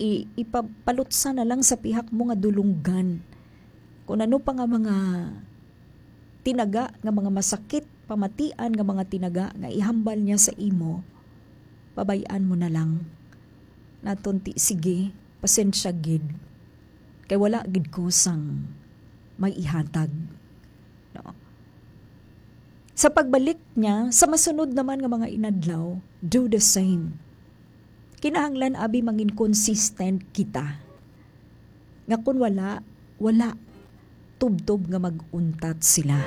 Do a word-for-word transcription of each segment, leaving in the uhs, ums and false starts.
I-, ipapalutsa na lang sa pihak mo nga dulunggan. Kung ano pa nga mga tinaga, nga mga masakit, pamatian nga mga tinaga nga ihambal niya sa imo, pabay-an mo na lang. Naton ti, "Sige, pasensya gid. Kay wala gid ko sang may ihatag." No? Sa pagbalik niya, sa masunod naman nga mga inadlaw, do the same. Kinahanglan abi mangin consistent kita. Nga kun wala, wala. Tubtob nga mag-untat sila.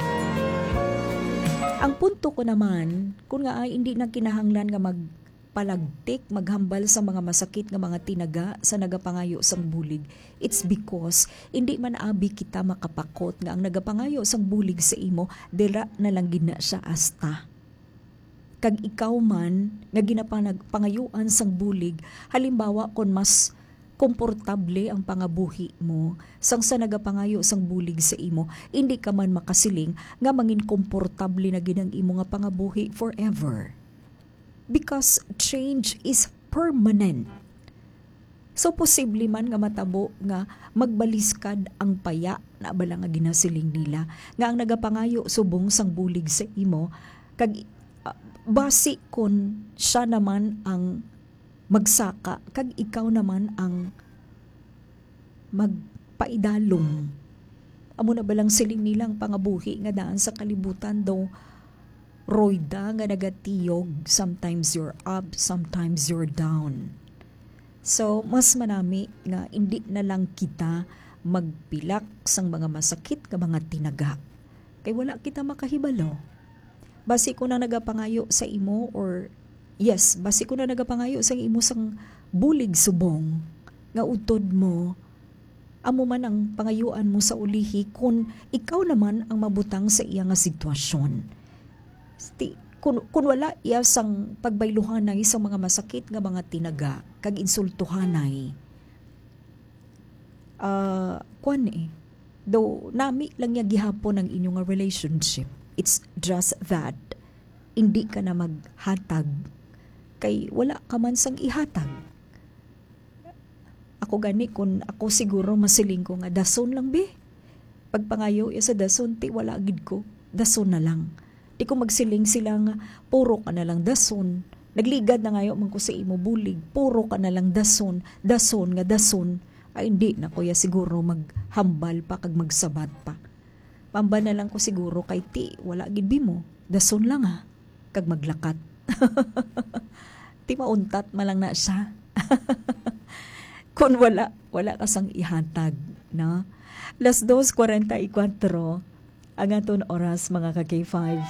Ang punto ko naman, kun nga ay hindi na kinahanglan nga magpalagtik, maghambal sa mga masakit nga mga tinaga sa nagapangayo sang bulig, it's because hindi man abi kita makapakot nga ang nagapangayo sang bulig sa imo, dira na lang gid na siya asta. Kag ikaw man nga ginapanag-, pangayuan sang bulig, halimbawa, kon mas komportable ang pangabuhi mo sang sa nagapangayo sang bulig sa imo, indi ka man makasiling nga mangin komportable na gid ang imo nga pangabuhi forever. Because change is permanent. So, posible man nga matabo nga magbaliskad ang paya na bala nga ginasiling nila, nga ang nagapangayo subong sang bulig sa imo, kag, ah, basi kon siya naman ang magsaka, kag ikaw naman ang magpaidalom. Amo na balang siling nila ang pangabuhi nga daan sa kalibutan, daw royda nga nagatiyog, sometimes you're up, sometimes you're down. So, mas manami nga indi na lang kita magpilak sang mga masakit nga mga tinaga. Kay wala kita makahibalo. Basi ko na nagapangayo sa imo, or, yes, basi ko na nagapangayo sa imo sang bulig subong nga utod mo, amo man ang pangayuan mo sa ulihi, kun ikaw naman ang mabutang sa iya nga sitwasyon. Sti-, kun, kun wala iya sang pagbayluhanay sa mga masakit nga mga tinaga kag insultuhanay, ah, kwan eh, daw nami lang niya gihapon ang inyo nga relationship. It's just that hindi ka na maghatag kay wala ka man sang ihatag. Ako gani, kun ako siguro, masiling ko nga dason lang, be. Pagpangayo iya sa dason, ti wala gid ko. Dason na lang. Di ko magsiling sila nga, "Puro ka na lang dason." Nagligad na ngayo man ko sa imo bulig, "Puro ka na lang dason, dason nga dason." Ay, hindi na ko ya siguro maghambal pa kag magsabat pa. Pamba na lang ko siguro kay ti, wala gid bimo. Dason lang ha. Kag maglakat. Ti mauntat man lang na siya. Kung wala, wala ka sang ihatag, no? Las dos cuarenta y cuatro ang aton oras, mga ka K five.